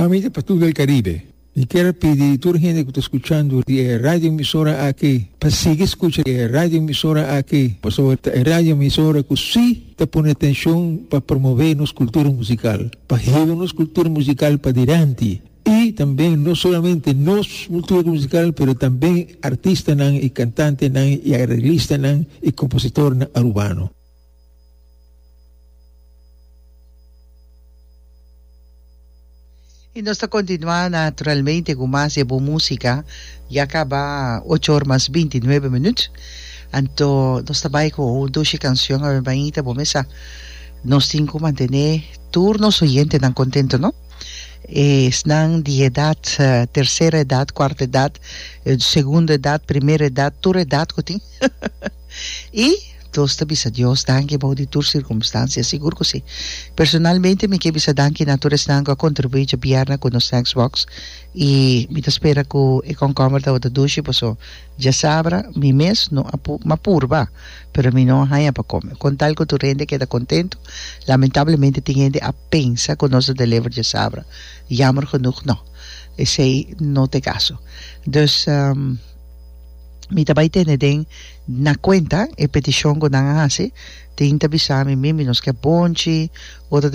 Ami ta Patul del Caribe. Mi kier a pidi tur hende ku ta skuchando di e radio emisora aki pa sigui skucha e radio emisora aki pasobra ta e radio emisora ku si ta pone atenshon pa promove nos kultura musikal, pa hiba nos kultura musikal padilanti i tambe no solamente nos kultura musikal pero tambe artistanan i kantantenan i areglistanan i kompositornan arubano. Y nos ta continua naturalmente cu mas di e bon musica. Ya caba ocho or mas binti nuebe minuut. Anto nos ta bay cu un dushi cancion awe mainta bo mesa. Nos tin cu mantene tur nos oyentenan contento no. Esnan di edad, tercera edad, cuarta edad, segunda edad, primera edad, tur edad cu tin. Y nos ta bisa Dios danki bou di tur circumstancia, sigur cu si. Personalmente mi ke bisa danki na tur esnan cu a contribui djabièrnè cu nos snacks box y mi ta spera cu e concomber tabata dushi paso djasabra mi mes no a m'a purba pero mi no a haña pa come. Con tal cu tur hende keda contento, lamentablemente tin hende a pensa cu nos a deliver djasabra, jammer genoeg no, esey no ta e caso. Dus. Mi ta bai tene den na kuenta e petishon ku nan a hasi. Tin ta bisa mi, Mimi, nos ke bonchi. Otro ta.